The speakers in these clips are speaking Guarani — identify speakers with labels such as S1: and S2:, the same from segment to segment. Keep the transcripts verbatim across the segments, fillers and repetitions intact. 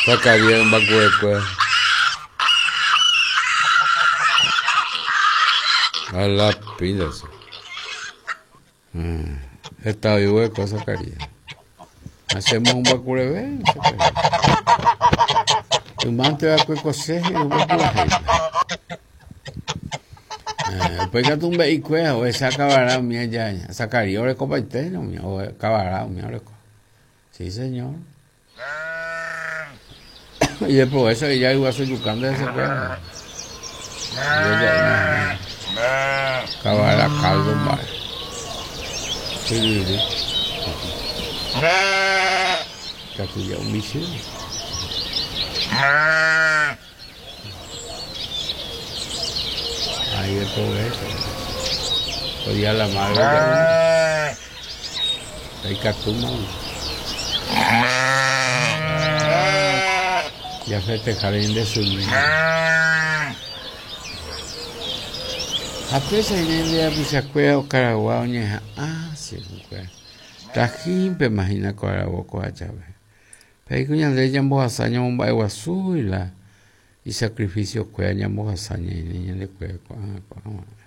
S1: Zacarías mbakuekue. A la pinta eso. Heta oĩva'ekue Zacarías. Hacemos un mbakureve, Zacarías. Ymánte va'ekue kose he'i mbakurehéipe. Upéi katu mbe'ikuéra ohecha kavara umi aja Zacarías orekopaite umi kavara umi oreko. Sí, señor. Y de progreso ella igual yucando ese cuero. Kavara caldo mba'e. Chyryry. Katu ja'u michĩ. Ahí de progreso. Hoy día la madre ya. Ikatúma. Ya festejar en de su Ha péicha ñande rapichakuéra okaragua oñeha'ã che Tajímpema hína ko aravo ko'ã jave. Péiko ñande ñambohasa ñamomba'eguasúi la isacrificiokuéra ñambohasa ñaine ñandekuéra ko'ág̃a ko'ág̃a.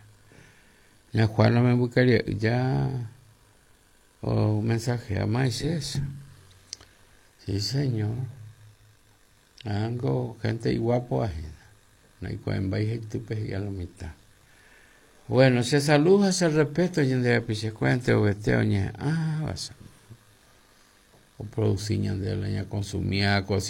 S1: Ña Juana membykarie'ỹ ja o mensajea eso. Sí, señor. Ángo gente iguapo ajena. Naikuaembái haitýpe he'i a lo mitad. Bueno, se saluda, se respeto ñande rapichakuéra enterovete oñeha'ãva oproduci ñande la ñaconsumía.